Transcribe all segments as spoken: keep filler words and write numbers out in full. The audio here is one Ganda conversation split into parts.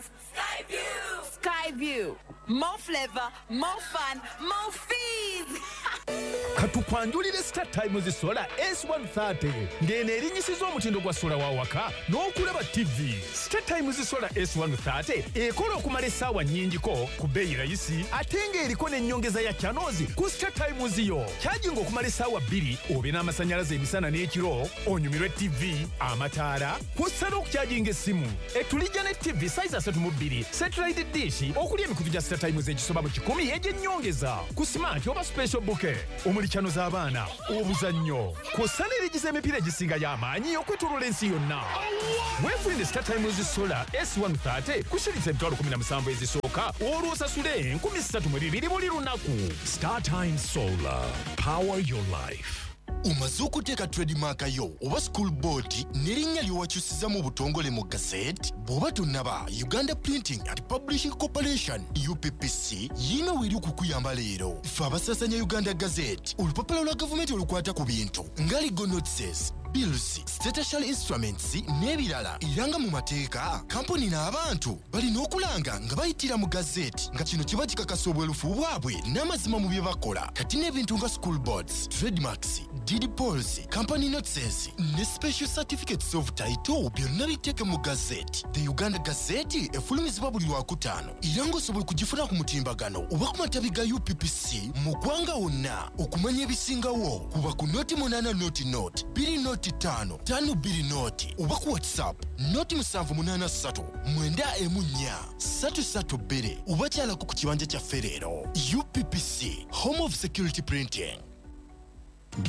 Skyview! Skyview. More flavor, more fun, more fees! Katukwanjulire Star Times Solar S one thirty ng'eno erinyisiza omutindo gwa sola wa waka n'okulaba T V. Star Times Solar S one thirty ekola okumala essaawa nnyingiko ku bbeeyi rayisi ate ng'eriko n'ennyongeza ya channels ku Star Times yo. Charging okumala essaawa bbiri obe n'amasannyalaze emisana n'ekiro, onyumirwe T V, amataala, kw'ossa n'okucharginga essimu. Etulijja ne T V size asatu mu bbiri, satellite dish okuli emikutu gya Star Times egisoba mu kikumi egy'ennyongeza ku smart oba special bouquet omuli channel z'abaana, obuzannyo, kw'ossa n'erigiza emipiira egisinga y'amaanyi okwetooloola ensi yonna. Weefunire Star Times Solar S one thirty ku shilingi emitwalo kumi na musanvu ezisooka olwo osasule enkumi ssatu mu bibiri buli lunaku. Star Times Solar, power your life. Omaze okuteeka trademark yo oba school board n'erinnya ly'owakyusiza mu butongole mu gazette? Bw'oba tonnaba, Uganda Printing and Publishing Corporation U P P C yiino weeri okukuyamba leero. Ffe abasaasanya Uganda Gazette, olupapula lwa gavumenti olukwata ku bintu nga legal notices, bills, statutory instruments n'ebirala. Era nga mu mateeka, kampuni n'abantu balina okulanga nga bayitira mu gazette, nga kino kiba kikakasa obwerufu bwabwe n'amazima mu bye bakola. Kati n'ebintu nga school boards, trademarks, deed polls, company notices ne special certificates of title byonna biteeke mu gazette. The Uganda Gazette efulumizibwa buli Lwakutaano era ng'osobola okugifuna ku mutimbagano oba ku matabi ga U P P C mu ggwanga wonna. Okumanya ebisingawo kuba ku noti munaana noti noti bbiri noti ttaano ttaano bbiri noti oba ku WhatsApp noti musanvu munaana ssatu mwenda emu nnya ssatu ssatu bbiri oba kyalako ku kibanja kyaffe leero. U P P C, Home of Security Printing.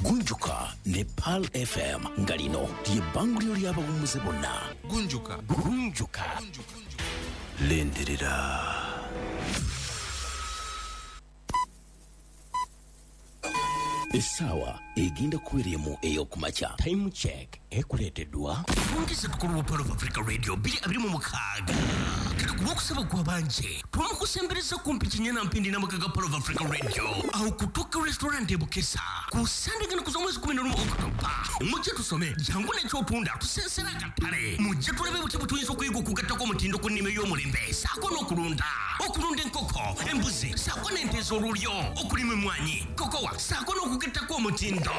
Gunjuka ne Pearl F M nga lino ly'ebbanguliro ly'abawummuze bonna. Gunjuka. Gunjuka. Lindirira. Essaawa egenda kubeera emu ey'okumakya. Time check ekuleeteddwa Fungisa tukulu wa Pearl of Africa Radio bbiri abiri mu mukaaga. Kati ku lwokusaba gw'abanje, twamukusembereza kumpi Kinyana Mpindi n'amaka ga Pearl of Africa Radio. Awo ku Tokyo Restaurant e Bukesa. Ku Sande gano kuza omwezi kumi na lumu Oktoba. Mujje tusome, jangu n'ekyotunda, tusensera akatale. Mujje tulabe butya bwe tuyinza okuyiga okugattako omutindo ku nnima ey'omulembe, ssaako n'okulunda. Okulunda enkoko, embuzi, ssaako n'ente ez'olulyo, okulima emmwanyi, kokowa, ssaako n'okugattako omutindo.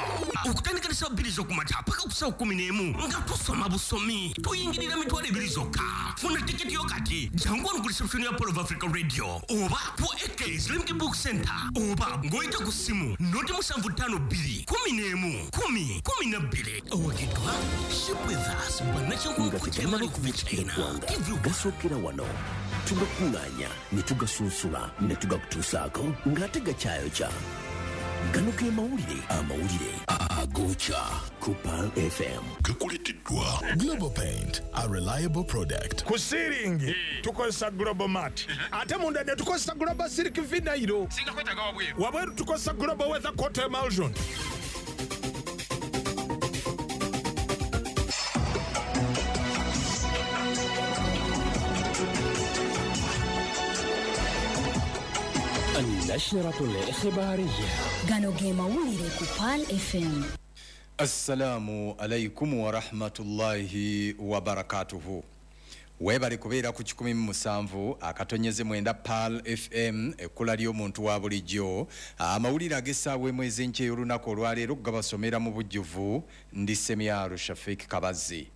Okutandika ne ssaawa bbiri z'okumakya paka ku ssaawa kkumi n'emu nga tusoma busomi. Tuyingirira mitwalo ebiri zokka. Funa tiketi yo kati. Jangu wano ku reception ya Pearl of Africa Radio oba ku A K Slimki Book Center oba ng'oyita ku ssimu noti musanvu ttaano bbiri kumi n'emu kumi kumi na bbiri. Owagiddwa Ship with Us bannakyenkulukuku Nga Chairman tetunnaba of kuva China. eggwanga, Give you gasookera wano. Tugakuŋŋaanya ne tugasunsula ne tugakutuusaako ng'ate gakyayokya. Gano ge mawulire, amawulire agokya ku Pearl F M. Gakuleeteddwa Global Paint, a reliable product. Ku siiringi tukozesa Global Mat, ate munda ne tukozesa Global Silk Vinyl. Singa kwetaaga wabweru. Wabweru tukozesa Global Weather Coat Emulsion. النشرة الإخبارية. Gano ge mawulire ku Pearl F M. Assalamu alaikum wa rahmatullahi wa barakatuhu. Webale kubeera ku kikumi mu musanvu akatonyeze mwenda Pearl F M, ekkula ly'omuntu wa bulijjo. Amawulire ag'essaawa emu ez'enkya ey'olunaku olwaleero gabasomera mu bujjuvu. Ndi Semyalo Shafik Kabazi.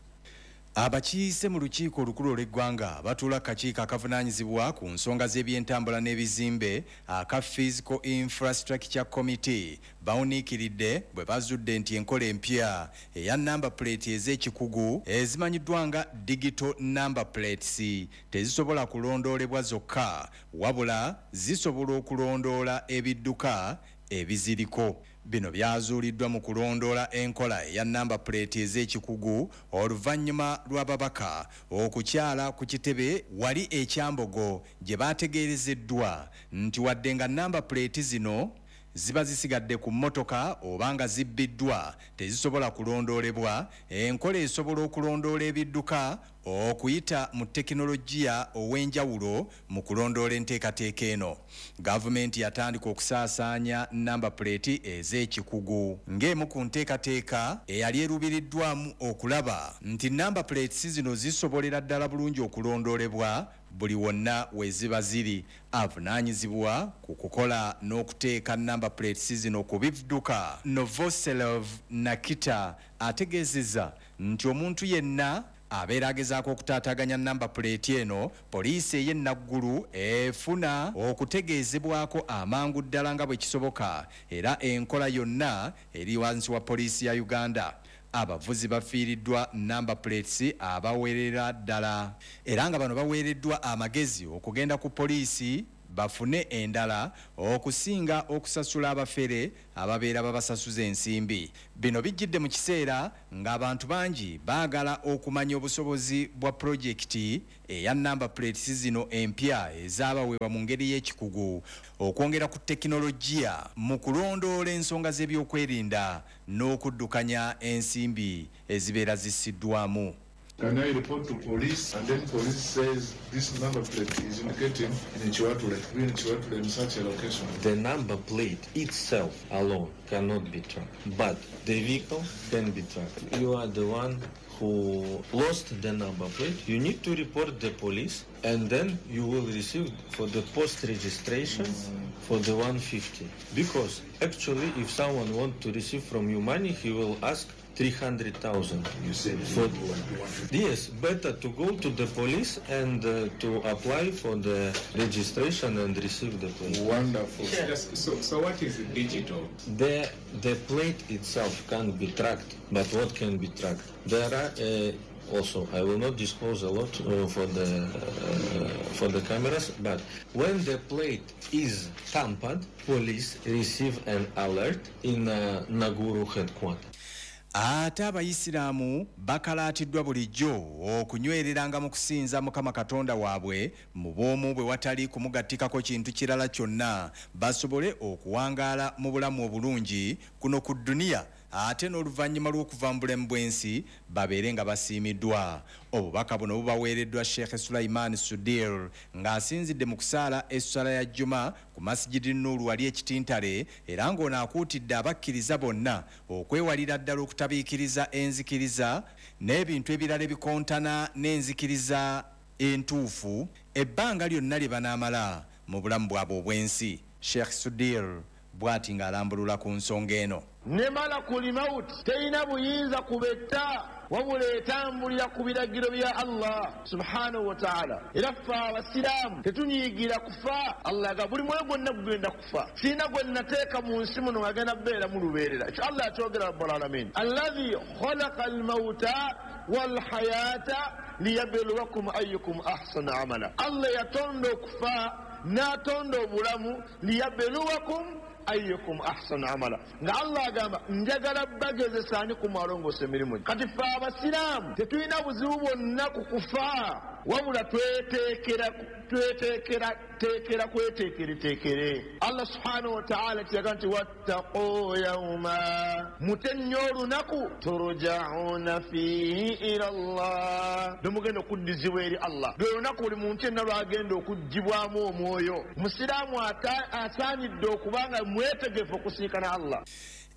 Abakiise mu lukiiko olukulu olw'eggwanga batuula akakiiko akavunaanyizibwa ku nsonga z'ebyentambula n'ebizimbe aka Physical Infrastructure Committee bawuniikiridde bwe bazudde nti enkola empya eya number plate ez'ekikugu ezimanyiddwa nga digital number plates tezisobola kulondoolebwa zokka, wabula zisobola okulondoola ebidduka ebiziriko. Bino byazuuliddwa mu kulondoola enkola eya number plate ez'ekikugu oluvannyuma lw'ababaka okukyala ku kitebe wali e Kyambogo gye baategeerezeddwa nti wadde nga number plate zino ziba zisigadde ku mmotoka oba nga zibbiddwa tezisobola kulondoolebwa, enkola esobola okulondoola ebidduka okuyita mu tekinologiya ow'enjawulo mu kulondoola enteekateeka eno. Gavumenti yatandika okusaasaanya number plate ez'ekikugu ng'emu ku nteekateeka eyali erubiriddwamu okulaba nti number plates zino zisobolera ddala bulungi okulondoolebwa buli wonna we ziba ziri. Avunaanyizibwa ku kukola n'okuteeka number plates zino ku bidduka Novoselov Nakita ategeezezza nti omuntu yenna abeera agezaako okutaataaganya number plate eno, poliisi ey'e Naggulu efuna okutegeezebwako amangu ddala nga bwe kisoboka, era enkola yonna eri wansi wa poliisi ya Uganda. Abavuzi bafiiriddwa number plates abawerera ddala, era nga bano baweereddwa amagezi okugenda ku poliisi bafune endala okusinga okusasula abafere ababeera babasasuza ensimbi. Bino bijjidde mu kiseera ng'abantu bangi baagala okumanya obusobozi bwa pulojekiti eya number plates zino empya ezaabaweebwa mu ngeri y'ekikugu okwongera ku tekinologiya mu kulondoola ensonga z'ebyokwerinda n'okuddukanya ensimbi ezibeera zissiddwamu. Can I report to police? And then police says this number plate is indicating in Chiwatule, in Chiwatule in such a location. The number plate itself alone cannot be tracked, but the vehicle can be tracked. You are the one who lost the number plate. You need to report the police, and then you will receive for the post registration for the one fifty. Because actually, if someone wants to receive from you money, he will ask three hundred thousand. You said for, yes, better to go to the police and uh, to apply for the registration and receive the plate. Wonderful. Yes. So, so what is digital? The the plate itself can't be tracked, but what can be tracked? There are uh, also, I will not disclose a lot uh, for the uh, for the cameras, but when the plate is tampered, police receive an alert in uh, Naguru headquarters. Ate abayisiraamu bakalaatiddwa bulijjo okunywereranga mu kusinza Mukama Katonda waabwe mu bw'omu bwe watali kumugattikako kintu kirala kyonna, basobole okuwangaala mu bulamu obulungi kuno ku dduniya, ate n'oluvannyuma lw'okuva mu bulamu bw'ensi babeere nga basiimiddwa. Obubaka buno bubaweereddwa Sheikh Sulaiman Sudir ng'asinzidde mu kusaala esswala ya Juma ku Masjidi Nur wali ekitintale, era ng'ono akuutidde abakkiriza bonna okwewalira ddala okutabiikiriza enzikiriza n'ebintu ebirala ebikontana n'enzikiriza entuufu ebbanga lyonna lye banaamala mu bulamu bwabwe obw'ensi. Sheikh Sudir bw'ati ng'alambulula ku nsonga eno. Ne malakul maut terina buyinza kubetta, wabula etambulira ku biragiro bya Allah subhanahu wa ta'ala. Era ffe abasiraamu tetunyiigira kufa. Allah aga buli mwoyo gwonna gugenda kufa, sirina gwe nateeka mu nsi muno ng'agenda kubeera mu lubeerera. Ekyo Allah akyogera rabbul alamin, alladhi khalaqa almauta walhayata liyabluwakum ayyukum ahsanu amala. Allah yatonda okufa n'atonda obulamu liyabluwakum ayyukum ahsanu amala. Nga Allah agamba njagala bagezesa ani ku malongoosa emirimu. Kati ffe abasiraamu tetulina buzibu bwonna ku kufa, wabula tweteekera tweteekera teekera kweteekereteekere. Allah subhanahu wa ta'ala kiyaga nti wattaqu yawma, mute nnyo olunaku turja'una fiihi ila Allah, lwemugenda okuddizibwa eri Allah. Lwe lunaku buli muntu yenna lwagenda okuggyibwamu omwoyo. Musiraamu asaanidde okuba nga mwetegefu okusiikana Allah.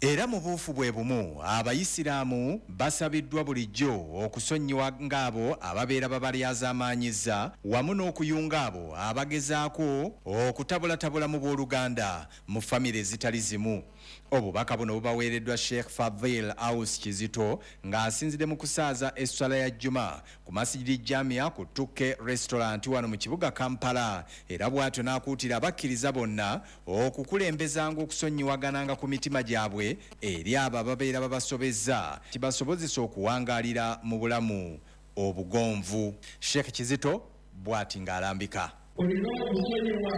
Era mu buufu bwe bumu abayisiraamu basabiddwa bulijjo okusonyiwa ng'abo ababeera babalyazaamaanyiza wamu n'okuyunga abo abagezaako okutabulatabula mu booluganda mu famire ezitali zimu. Obubaka buno bubaweereddwa Sheikh Fadhil Aus Kizito ng'asinzidde mu kusaaza esswala ya Juma ku Masjidi Jamia ku Tuke Restaurant wano mu kibuga Kampala, era bw'atyo n'akuutira abakkiriza bonna okukulembezanga okusonyiwagananga ku mitima gyabwe eri abo ababeera babasobezza kibasobozesa okuwangaalira mu bulamu obugonvu. Sheikh Kizito bw'ati ng'alambika. Olina okusonyiwa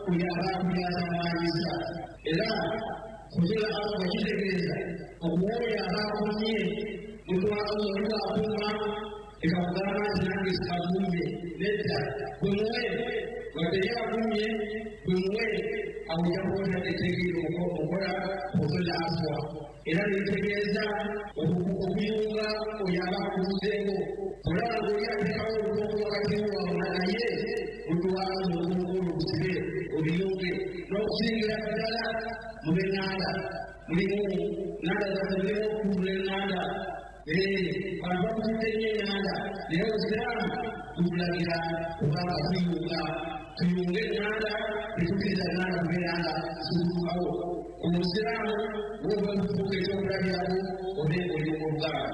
oyo aba akuyazaamaanyiza, era kusola abo kitegeeza okuwoyo aba akomye mutwala oli bw'akoma ekakugamba nti nange sikagumye, nedda gwe muwe, wadde ye agumye gwe muwe, awo ojja kuba etegeera okola okusola afwa. Era netegeeza okuyunga oyo aba akubuzeeko, olaba ng'oli ateekawo olukonko wakati waabwe naye mutwala olukonko olusibe oluyunge n'okusingira ddala mu b'eŋŋanda mulimu ŋŋanda zaffe mulimu okutula eŋŋanda. Bantu bakutudde nnyo eŋŋanda, naye obusiraamu butulagira kubanga tuyunga. nga tuyunge eŋŋanda, tetukkiriza ŋŋanda kubeera nga zituukawo. Omusiraamu woba okufuuka ekyokulabirako obe oli oluganda.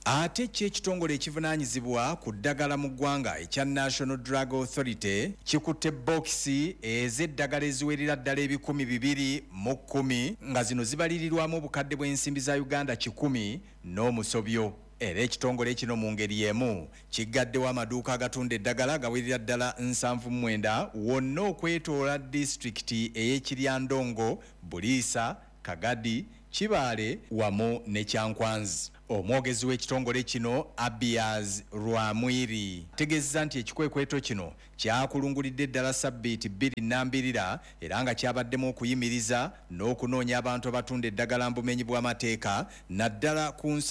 Ate ki ekitongole ekivunaanyizibwa ku ddagala mu ggwanga ekya National Drug Authority kikutte bokisi ez'eddagala eziwerera ddala ebikumi bibiri mu kkumi, nga zino zibalirirwamu obukadde bw'ensimbi za Uganda kikumi n'omusobyo. Era ekitongole kino mu ngeri emu kiggaddewo amaduuka agatunda eddagala gawerera ddala nsanvu mu mwenda wonna okwetoola disitulikiti ey'Ekiryandongo, Buliisa, Kagadi, Kibaale wamu ne Kyankwanzi. Omwogezi w'ekitongole kino Abiaz Rwamwiri ategeezezza nti ekikwekweto kino kyakulungulidde ddala sabbiiti bbiri nnambirira, era nga kyabaddemu okuyimiriza n'okunoonya abantu abatunda eddagala mu bumenyi bw'amateeka, naddala ku nsa